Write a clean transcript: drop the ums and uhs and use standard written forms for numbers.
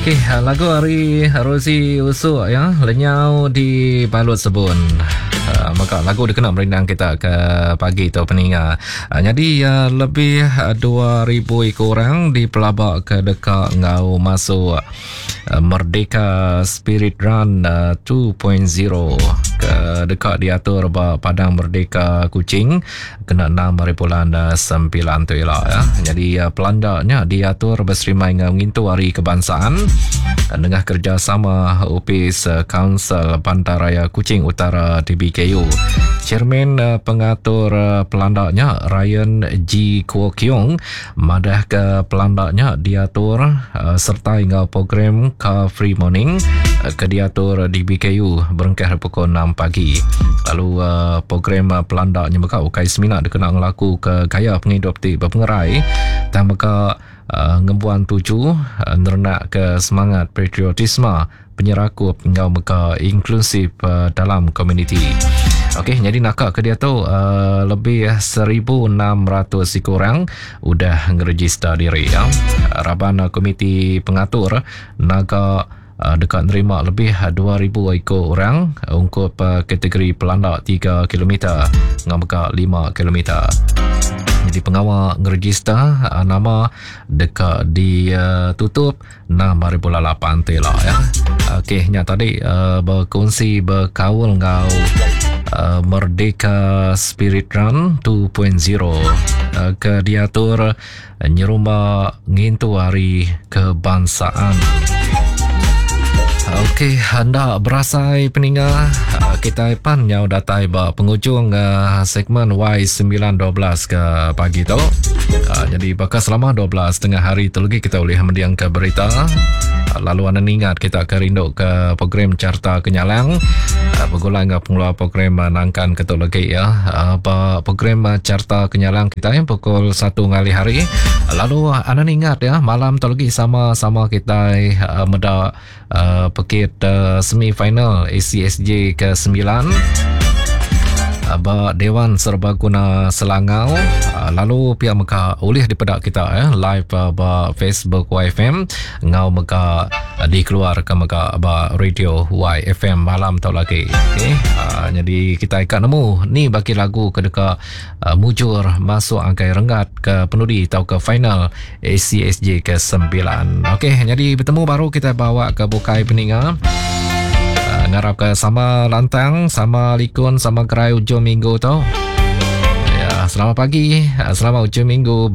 Okey, lagu ari Rosie Usuk ya, lenyau di balut sebun. Uh, maka lagu dikena merindang kita ke pagi tu peninga. Uh, jadi uh, lebih 2000 iku orang dipelaba ke deka enggau masuk Merdeka Spirit Run 2.0 ke deka diatur ba Padang Merdeka Kuching kena 6 hari bulan 9 tu ila ya. Jadi pelanda nya diatur beserimai enggau ngintu Hari Kebangsaan nengah kerjasama Opis Kaunsil Bandaraya Kuching Utara DBKU. Chairman pengatur pelanda nya Ryan G Kuo Kiong Madahka pelanda nya diatur sereta enggau program Car Free Morning ke diatur di BKU berengkah ari pukul enam pagi. Lalu program pelanda nya mega ukai semina dikena ngelakuka gaya pengidup ti bepengerai tang mega ngembuan tuju nerenakka semangat patriotisme penyerakup enggau mega inklusif dalam komuniti. Okey, nyadi naka ke diatu uh, lebih 1600 iku orang udah ngerejista diri ya. Raban komiti pengatur naga uh, deka nerima lebih 2000 iku orang ungkup uh, kategori pelanda 3 km enggau mega 5 km. Jadi pengawa ngerejista uh, nama deka ditutup 6 hari bulan 8 ti lah ya. Okey, nya tadi uh, berkongsi berkaul enggau uh, Merdeka Spirit Run 2.0 uh, ke diatur nyerumba ngintu hari kebangsaan. Okey, anda berasai peninga uh, kita pan nyau datai ba pengujung uh, segmen Y912 ke pagi tu. Uh, jadi bakal selama 12 tengah hari tu lagi kita boleh mendiang ke berita. Uh, lalu anda ingat kita ke rindu ke program Carta Kenyalang. Uh, bergulai dengan pengeluar program uh, nangkan ke tu lagi ya. Uh, ba program uh, Carta Kenyalang kita yang pukul 1 ngalih hari. Lalu anda ingat ya malam tu lagi sama-sama kita uh, meda uh, pekit uh, semi final ACSJ ke-9 uh, ba Dewan Serbaguna Selangau uh, lalu pihak mega ulih dipeda kita ya live uh, ba Facebook YFM ngau mega uh, dikeluarkan mega ba radio YFM malam tu lagi okey uh, jadi kita ikat nemu ni bagi lagu ke deka uh, mujur masuk angkai renggat ke penudi atau ke final ACSJ ke-9. Okey, jadi bertemu baru kita bawa ke bukai peninga. Uh, ngarap ke sama lantang, sama likun, sama gerai ujung minggu tu. Ya, selamat pagi, selamat ujung minggu.